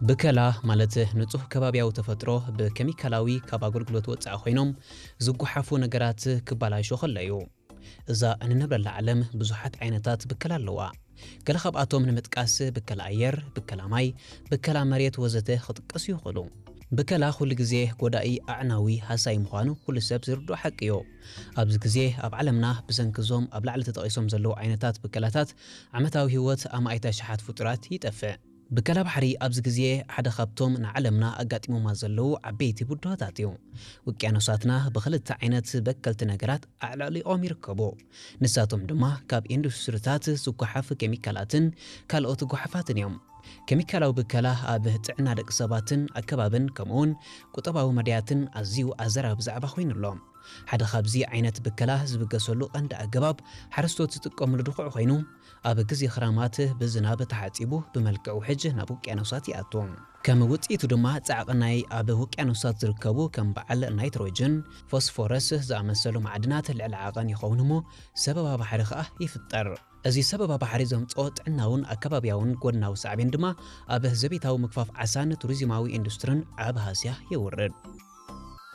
ብከላ ማለት ንጹህ ከባብያዊ ተፈጥሮ ብኬሚካላዊ ካብ ኣገልግሎት ወጻኢ ኮይኖም ዝጓሓፉ ነገራት ክባላሾ ከለዩ። እዛ እንነብረላ ዓለም ብዙሓት ዓይነታት ብከላ ኣለዋ። ገለ ካብኣቶም ንምጥቃስ ብከላ ኣየር፣ ብከላ ማይ፣ ብከላ መሬት ወዘተ ክጥቀሱ ይኽእሉ። ብከላ ኩሉ ግዜ ጎዳኢ ኣዕናዊ ሃሳይ ምዃኑ ኩሉ ሰብ ዝርድኦ ሓቂ እዩ። ኣብዚ ግዜ ኣብ ዓለምና ብሰንኪ እዞም ኣብ ላዕሊ ተጠቒሶም ዘለዉ ዓይነታት ብከላታት ዓመታዊ ህይወት ኣማኢት ኣሽሓት ፍጡራት ይጠፍእ። ብከላ ባሕሪ ኣብዚ ግዜ ሓደ ካብቶም ንዓለምና ኣጋጢሞማ ዘለዉ ዓበይቲ ብድሆታት እዩ። ውቅያኖሳትና ብኽልተ ዓይነት በከልቲ ነገራት ኣዕለቕሊቖም ይርከቡ። ንሳቶም ድማ ካብ ኢንዱስትሪታት ዝጓሓፍ ኬሚካላትን ካልኦት ጓሓፋትን እዮም። ኬሚካላዊ ብከላ ኣብ ጥዕና ደቂ ሰባትን ኣከባብን ከምኡውን ቁጠባዊ መድያትን ኣዝዩ ኣዘራቢ ዛዕባ ኮይኑ ኣሎ። ሓደ ካብዚ ዓይነት ብከላ ዝብገሰሉ ቀንዲ ኣገባብ ሓረስቶት ዝጥቀምሉ ድኹዒ ኮይኑ፣ ኣብ ግዜ ክራማት ብዝናብ ተሓጺቡ ብመልክዕ ውሕጅ ናብ ውቅያኖሳት ይኣቱ። ከም ውጽኢቱ ድማ ጻዕቒ ናይ ኣብ ውቅያኖሳት ዝርከቡ ከም በዓል ናይትሮጅን፣ ፎስፎረስ ዝኣመሰሉ ማዕድናት ልዕሊ ዓቐን ይኸውን እሞ ሰበባ ባሕሪ ከኣ ይፍጠር። እዚ ሰበባ ባሕሪ ዘምጽኦ ጥዕናውን ኣከባብያውን ጎድናዊ ሳዕቤን ድማ ኣብ ዘቤታዊ ምግፋፍ ዓሳን ቱሪዝማዊ ኢንዱስትርን ዓቢ ሃስያ የውርድ።